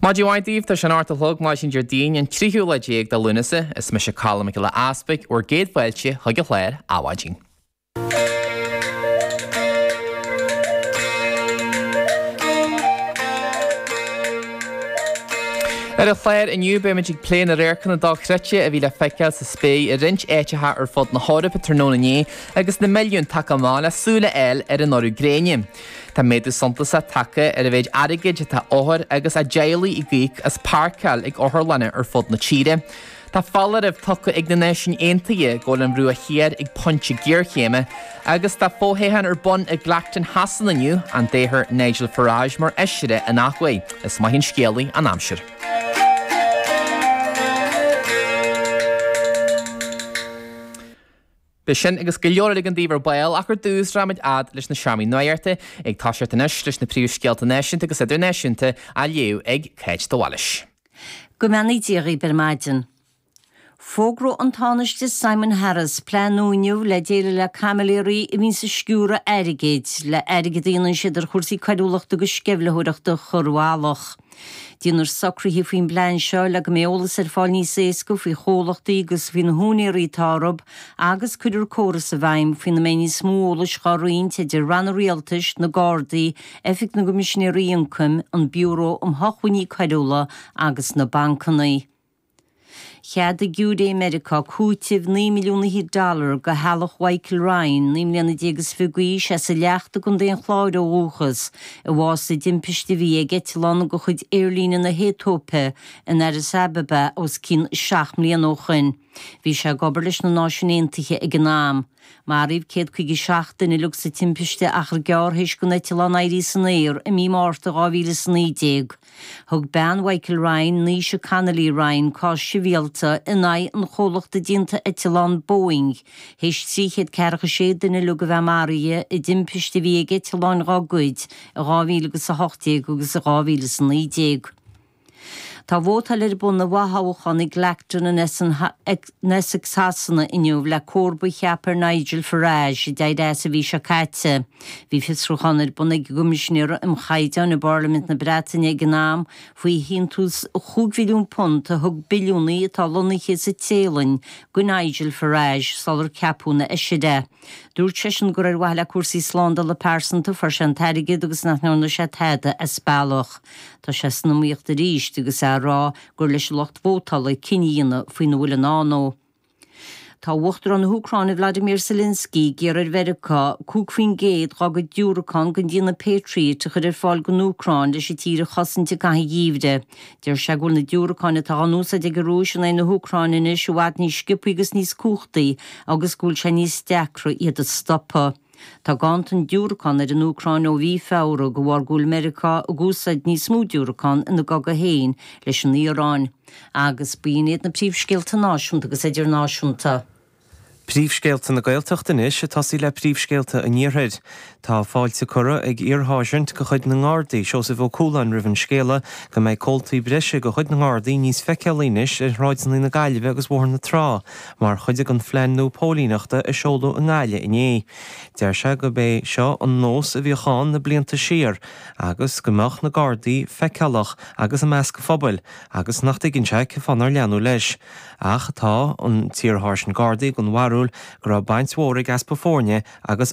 Maidin mhaith daoibh, tá sé an 8 a chlog maidin Déardaoin an tríú lá déag de Lúnasa. Is mise Colm Mac Giolla Easpaig, bhur gcéad fáilte chuig an chlár Adhmhaidin. Ar an chlár inniu beimid ag plé na radharcanna dochreidte a bhí le feiceáil sa spéir i roinnt áiteacha ar fud na hEorpa tráthnóna inné agus na milliúin tagtha amach le súil a fháil ar an urú gréine. Tá méadú suntasach tagtha ar an mhéid airgid atá othair agus a dteaghlaigh ag íoc as páirceáil ag otharlanna ar fud na tíre. Tá foláireamh tugtha ag na Náisiúin Aontaithe go bhfuil an Bhruach Thiar ag pointe géarchéime agus tá fothoghchán ar bun i gClacton Shasana inniu, an dtoghfar Nigel Farage mar fheisire an athuair. Is maith an scéalaí an aimsir. Beidh sin agus go leor eile againn daoibh ar ball ach ar dtús rachaimid fhad leis na seomraí nuachta, ag toiseacht anois leis na príomhscéalta náisiúnta agus idirnáisiúnta á léamh ag Cáit de Bhailís. Go mbeannaí Dia dhaoibh ar maidin. Fógróidh an Tánaiste Simon Harris plean nua inniu le déileáil le caimiléirí a bhíonns ag sciúradh airgid, le airgead a dhéanann siad ar chúrsaí coiriúlachta agus sceimhlitheoireachta a chur i bhfolach. Déanfar socruithe faoin bplean seo le go mbeidh eolas ar fáil níos éasca faoi chomhlachtaí agus faoi na húinéirí atá orthu agus cuirfear córas i bhfeidhm faoina mbeidh níos mó eolais dhá roinnt idir ranna rialtais, na Gardaí, Oifig na gCoimisinéirí Ioncaim, an Biúró um Shócmhainní Coiriúla agus na bancanna. Cheadaigh giúiré i Meiriceá cúiteamh 9 milliún fhichead dollar do theaghlach Mhichael Ryan, 19 mbliana is 20 d'aois, as an Leacht i gContae an Chláir ó dhúchas, a bhásaigh i dtimpiste a bhí ag eitleán de chuid aerlíne na hAetóipe in Addis Ababa os cionn 7 mbliana ó shoin. Bhí sé ag obair leis na Náisiúin Aontaithe ag an am. Maraíodh 157 duine uilig sa timpiste achar gearr théis don eitleán éirí san aer i mí Márta 2019. Thug bean Mhichael Ryan, Naoise Connolly Ryan, cás sibhialta in aghaidh an chomhlachta déanta eitleán Boeing théis 346 duine uilig a bheith maraithe i dtimpiste a bhí ag eitleáin dhá gcuid i 2018 agus i 2019. Tá vótáil ar bun i bhfothoghchán i gClacton in Essex Shasana inniu le comharba a cheapadh ar Nigel Farage a d'éirigh as an mhí seo caite. Bhí fiosrúchán ar bun ag an gCoimisinéir um Chaighdeáin i bParlaimint na Breataine ag an am faoi shíntiús £5 mhilliún a thug billiúnaí atá lonnaithe sa Téalainn do Nigel Farage sular ceapadh ina fheisire é. Dúirt seisean gur ar mhaithe le cúrsaí slándála pearsanta a fuair sé an t-airgead agus nach ndearna sé tada as bealach. Tá sé san iomaíocht arís agus é ag rá gur leis an lucht vótála cinneadh a dhéanamh faoina bhfuil i ndán dó. Tá Uachtarán na hÚcráine Vladimir Zelensky ag iarraidh ar Mheiriceá 5% dá gcuid diúracán den déanamh Patriot a chur ar fáil don Úcráin leis an tír a chosaint i gcaitheamh an gheimhridh. Deir sé go bhfuil na diúracáin atá á n-úsáid ag an Rúis in aghaidh na hÚcráine anois i bhfad níos sciobthaí agus níos cumhachtaí agus go bhfuil sé níos deacra iad a stopadh. Tá ganntan diúracán ar an Úcráin ó mhí Feabhra de bharr go bhfuil Meiriceá ag úsáid níos mó diúracán ina gcogadh féin leis an Iaráin. Agus b'in iad na príomhscéalta náisiúnta agus idirnáisiúnta. Príomhscéalta na Gaeltachta anois, ag tosaí le príomhscéalta an Iarthair. Tá fáilte curtha ag iar-sháirsint de chuid na nGardaí, Seosamh Ó Cualáin roimh an scéala go mbeidh comhaltaí breise de chuid na nGardaí níos feiceálaí anois ar shráideanna na Gaillimhe agus Bhóthar na Trá mar chuid den phlean nua póilíneachta a seoladh i nGaillimh inné. Deir sé gurb é seo an nós a bhíodh ann na blianta siar agus go mbeadh na Gardaí feiceálach agus i measc an phobail agus nach dtuigeann sé cén fáth nár leanadh leis. Ach tá an t-iar-sháirsint Gardaí den bharúil go raibh baint mhór ag easpa foirne agus.